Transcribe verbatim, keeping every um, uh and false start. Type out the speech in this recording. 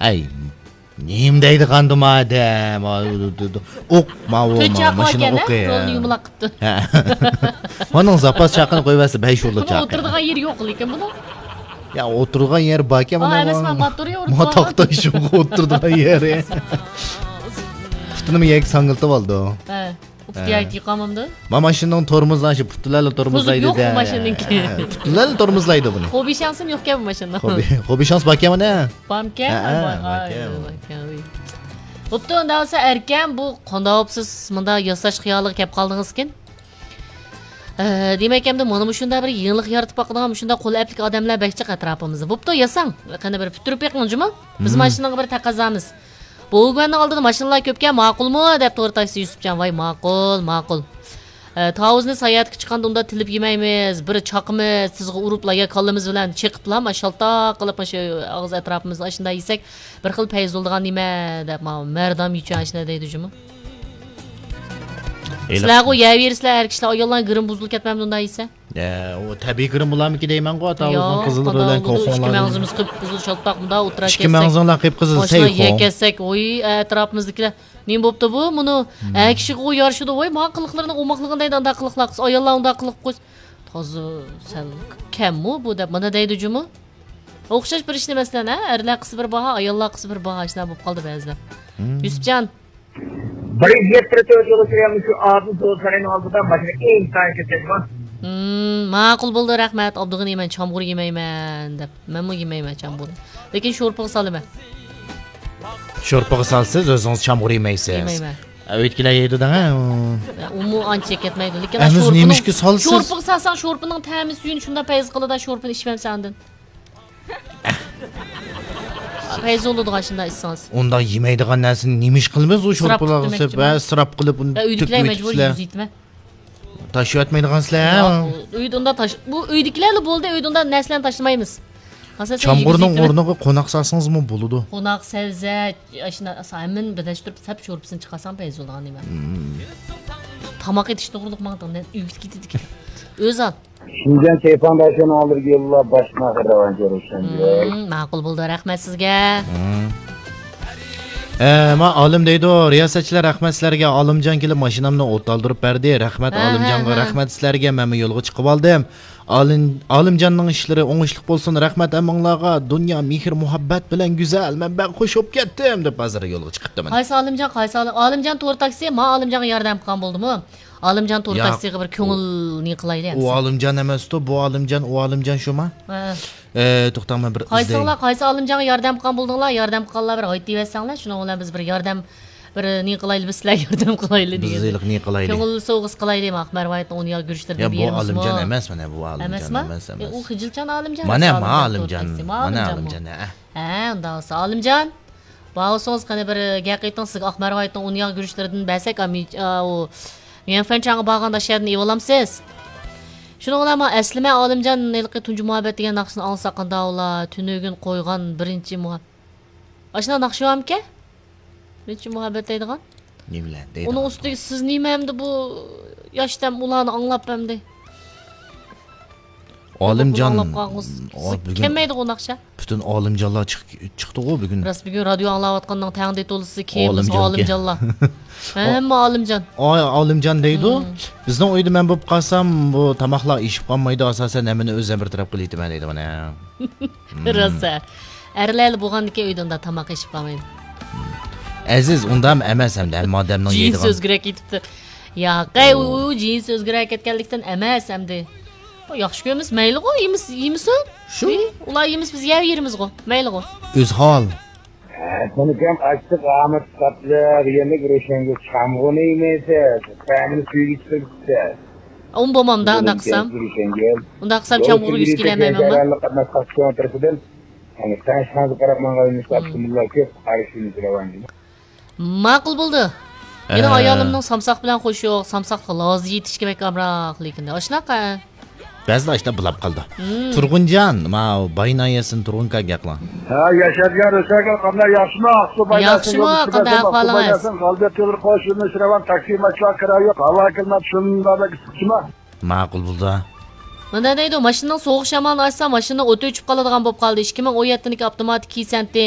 ئەي، نېمە دەيدىغاندۇ مادەم؟ ئوق، ماۋۇ، تۆت ماۋۇ چاقى ماشىنا ئوقى. رولنى يۇمىلاق قىپتۇ. ھە. ئۇنىڭ زاپاس چاقىنى قويۇۋەتسە، بەش ئۇرلۇق چاقى. ئولتۇرىدىغان يېرى يوق لېكىن بۇنىڭ. يا، ئولتۇرىدىغان يېرى باركەن ئۇنىڭ. ئەمەس، مەن ماتورى ئولتۇرغان. تاختا شۇغا ئولتۇرىدىغان يېرى. پۇتىنىمۇ يەرگە ساڭگىلىتىۋالىدۇ. ھە. ئۇپتىيايتى قامامدۇ؟ ما ماشىنىنىڭ تورمۇزلاشى پۇتلارلا تورمۇزلايدۇ. يوق بۇ ماشىنىنىڭكى. ھە، پۇتلارلا تورمۇزلايدۇ بۇنى. خوبىشانسىم يوقكەن بۇ ماشىنىنىڭ. خوبىشانس باركەن مانا. بارمىكەن؟ ھە، باركەن. بوپتۇ، ئۇنداق بولسا ئەركەم، بۇ قانداق بوپسىز؟ مۇنداق ياساش خىيالىغا كەپ قالدىڭىزكىن. ئە، دېمەك، ئەمدى مانا مۇشۇنداق بىر يېڭىلىق يارىتىپ باقىدىغان مۇشۇنداق قول ئەپلىك ئادەملەر بەك جىق ئەتراپىمىزدا. بوپتۇ، ياساڭ. قېنى بىر پۈتتۈرۈپ بېقىڭ جۇمۇ. بىز ماشىنىغا بىر تەقەززامىز. بوۋۇگۈەننىڭ ئالدىدا ماشىنىلار كۆپكەن، ماقۇلمۇ؟ دەپ تور تاكسى يۈسۈپجان. ۋاي، ماقۇل، ماقۇل. ئە، تاۋۇزنى ساياھەتكە چىققاندا ئۇنداق تىلىپ يېمەيمىز. بىر چاقىمىز، تىزغا ئۇرۇپلا يا كاللىمىز بىلەن چېقىپلا، ما شالتاق قىلىپ، مۇشۇ ئاغزى ئەتراپىمىزدا ئاشۇنداق يېسەك، بىر خىل پەيز بولىدىغان نېمە دەپ، ما مەردان يېچۈن ئاشۇنداق دەيدۇ جۇمۇ. سىلەرغۇ يەۋېرىسىلەر، ئەر كىشىلەر، ئاياللارنىڭ گىرىمى بۇزۇلۇپ كەتمەمدۇ ئۇنداق يېسە؟ ئە، ئۇ تەبىئىي گىرىم بولارمىكىن دەيمەنغۇ، ئاتا ئۆزىنىڭ قىزىلى بىلەن ئىككى مەڭزىمىز قىپقىزىل شالتاق مۇنداق ئولتۇرا كەتسەك، ئىككى مەڭزىڭلار قىپقىزىل، ماشىنا يەپ كەتسەك، ۋوي، ئەتراپىمىزدىكىلەر نېمە بوپتۇ بۇ؟ مۇنۇ ھە كىشىگە يارىشىدۇ، ۋوي، ماڭا قىلىقلىرىنىڭ ئوماقلىقىنى دەيدۇ، ئانداق قىلىقلار قىلسا، ئاياللار ئۇنداق قىلىق قويسا، تازا سەل كەممۇ بۇ دەپ مانا دەيدۇ جۇمۇ. ئوخشاش بىر ئىشنى مەسىلەن، ھە، ئەرلەر قىلسا بىر باھا، ئاياللار قىلسا بىر باھا، ئاشۇنداق بولۇپ قالدى بەزىدە. يۈسۈپجان. بىر يۈز يەتتە تۆت يولغا كىرگەن مۇشۇ ئادىل سودا سارىيىنىڭ ئالدىدا ماشىنا ئىنتايىن كۆپ كەتكەن. مم، ماقۇل بولدى، رەھمەت. ئابدۇغېنى، مەن چامغۇر يېمەيمەن دەپ. مەنمۇ يېمەيمەن چامغۇرنى. لېكىن شورپىغا سالىمەن. شورپىغا سالىسىز، ئۆزىڭىز چامغۇر يېمەيسىز. يېمەيمەن. ئۆيدىكىلەر يەيدۇ دەڭە. ئۇمۇ ئانچە يەپ كەتمەيدۇ. لېكىن ئەمىز شورپىنىڭ، نېمىشقا سالىسىز؟ شورپىغا سالساڭ، شورپىنىڭ تەمى سۈيىنى شۇنداق پەيز قىلىدۇ، شورپىنى ئىچمەمسەن ئاندىن. پەيز بولىدىغان شۇنداق ئىچسىڭىز. ئۇنداق يېمەيدىغان نەرسىنى نېمە ئىش قىلىمىز؟ ئۇ شورپىلارغا سېلىپ، ھە، ئىسراپ قىلىپ، ئۇنى تۆكۈپ ئۆيدىكىلەر مەجبۇرىي يۈزۈيتىمەن. تاشلىۋەتمەيدىغانسىلەر، ھە؟ يوق، ئۆيدە ئۇنداق تاش-، بۇ ئۆيدىكىلەرلا بولدى، ئۆيدە ئۇنداق نەرسىلەرنى تاشلىمايمىز. چامغۇرنىڭ ئورنىغا قوناق سالسىڭىزمۇ بولىدۇ. قوناق، سەۋزە، ئاشۇنداق ھەممىنى بىرلەشتۈرۈپ سەپ شورپىسىنى چىقارساڭ پەيز بولىدىغان نېمە. تاماق ئېتىش توغرىلىق ماڭا ئۆگىتىپ كېتىدىكەن. ئۆزى ئال. شىنجاڭ كەيپاڭداشلىرىنىڭ ئالدىدىكى يوللار باشتىن ئاخىر راۋانچى روشەنگۈل. مم، ماقۇل بولدى، رەھمەت سىزگە. مم. ئە، ما ئالىم دەيدۇ، رىياسەتچىلەر، رەھمەت سىلەرگە، ئالىمجان كېلىپ ماشىنامنى ئوت ئالدۇرۇپ بەردى. رەھمەت ھە، ئالىمجانغا، ھە، ھە. رەھمەت سىلەرگە، مەنمۇ يولغا چىقىۋالدىم. ئالىم-، ئالىمجاننىڭ ئىشلىرى ئوڭۇشلۇق بولسۇن، رەھمەت ھەممىڭلارغا، دۇنيا مېھىر مۇھەببەت بىلەن گۈزەل، مەن بەك خۇش بولۇپ كەتتىم دەپ ھازىر يولغا چىقىپتىمەن. قايسى ئالىمجان، قايسى ئالىم-، ئالىمجان تور تاكسى، ما ئالىمجانغا ياردەم قىلغان بولدىمۇ؟ ئالىمجان تور تاكسىغا بىر كۆڭۈل نېمە قىلايلى ئەمسە. ئۇ ئالىمجان ئەمەستۇ، بۇ ئالىمجان، ئۇ ئالىمجان شۇما؟ ھە. ئە، توختاڭ، مەن بىر ئىزدەي. قايسىڭلار، قايسى ئالىمجانغا ياردەم قىلغان بولدۇڭلار؟ ياردەم قىلغانلار بىر ھايتىۋەتسەڭلار، شۇنىڭ بىلەن بىز بىر ياردەم، بىر نېمە قىلايلى، بىز سىلەرگە ياردەم قىلايلى دېگەن. بىز ھېلىقى نېمە قىلايلى؟ كۆڭۈل سوۋغىسى قىلايلى، ئاق مەرۋايىتنىڭ ئۇنىياغ گۈرۈچلىرىدىن بېرىمىزمۇ؟ يا، بۇ ئالىمجان ئەمەس، مانا بۇ ئالىمجان ئەمەسمۇ؟ ئەمەس، ئەمەس. ئۇ خىجىلچان ئالىمجان. مانا ئالىمجان، مانا ئالىمجان. ھە، ئۇنداق بولسا ئالىمجان. باھا سوڭۇز قېنى بىر گەپ قىلىڭ، سىزگە ئاق مەرۋايىتنىڭ ئۇنىياغ گۈرۈچلىرىدىن بەرسەك، ئا، مىج-، ئا، ئۇ، ميەنفەنچاڭغا بارغاندا شۇ يەردىن ئېلىۋالامسىز؟ شۇنىڭ بىلەن مانا ئەسلىمە ئالىمجان ھېلىقى تۇنجى مۇھەببەت دېگەن ناخشىنى ئاڭلىساق قانداق بولا؟ تۈنۈگۈن قويغان بىرىنچى مۇھەب-، ئاشۇنداق ناخشا بارمىكەن؟ بىرىنچى مۇھەببەت دەيدىغان؟ نېمىلەر دەيدىغان؟ ئۇنىڭ ئۈستىگە سىز نېمە ئەمدى بۇ ياشتەم ئۇلارنى ئاڭلاپ ئەمدى؟ ئالىمجان. ئاڭلاپ قالغۇسىز. ئا، بۈگۈن كەلمەيدىغۇ ناخشا. پۈتۈن ئالىمجانلار چىق-، چىقتىغۇ بۈگۈن. راست، بۈگۈن رادىيو ئاڭلاۋاتقاننىڭ تەڭدە تولىسى كېيىن بىز ئالىمجانكەن. ئالىمجانلار. ھەممە ئالىمجان. ئا، ئالىمجان دەيدۇ. مم. بىزنىڭ ئۆيدە مەن بولۇپ قالسام، بۇ تاماقلار ئېشىپ قالمايدۇ، ئاساسەن ھەممىنى ئۆزۈم بىر تەرەپ قىلىۋېتىمەن دەيدۇ مانا. مم. راست. ئەرلەرلا بولغاندىكىن ئۆيدە ئۇنداق تاماق ئېشىپ قالمايدۇ. ئەزىز، ئۇنداق ئەمەس ئەمدى، ھەممە ئادەمنىڭ يەيدىغان. جىنسى ئۆزگىرەپ كېتىپتۇ. ياقەي، ئۇ، ئۇ جىنسى ئۆزگىرەپ كەتكەنلىكتىن ئەمەس ئەمدى. ياخشى كۆرىمىز، مەيلىغۇ، يېمىس-، يېمىسۇن. شۇ. ئى، ئۇلار يېمىس، بىز يەۋېرىمىزغۇ، مەيلىغۇ. ئۆز ھال. ھە، سېنىكەم ئاچچىق ئامەت قاتلىق يېمەك روشەنگۈل چامغۇرنى يېمەيسىز، تەمىنى سۈيىگە چىقىرىپسىز. ئۇم بولمامدا ئۇنداق قىلسام. ئۇنداق قىلسام چامغۇرغا يۈز كېلەلمەيمەنما؟ قاتناش قاتنىشىڭ تەرىپىدىن، يەنى تەڭشىڭىزگە قاراپ ماڭغان يۈنۈس ئاپتوموبىللار كۆپ، قارشى يۈنۈس راۋانچى. ماقۇل بولدى. مېنىڭ ئايالىمنىڭ سامساق بىلەن خوشى يوق، سامساققا لازا يېتىشكە بەك ئامراق، لېكىن ئاشۇنداق. بەزىدە ئاشۇنداق بولاپ قالىدۇ. تۇرغۇنجان، ماۋۇ باي ناھىيەسىدىن تۇرغۇن كاكا قىلىڭ. ھە، ياشارجان، رۇسەلگۈل قانداق، ياخشىمۇ؟ ئاقسۇ باي ناھىيەسىدىن يولدىشىم ئەزەم، غالىبىيەت يولى قوشۇلمىسى راۋان، تاكسى ماشىنا كىرا يوق، ھاۋا كىلىمات شۇنداق بەك ئىسسىقچىما؟ ماقۇل بولدى. مۇنداق دەيدۇ، ماشىنىنىڭ سوغۇق شامالىنى ئاچسا، ماشىنا ئوتى ئۆچۈپ قالىدىغان بولۇپ قالدى. ئىككى مىڭ ئون يەتتىنچى ئاپتوماتىك كىسەنتى.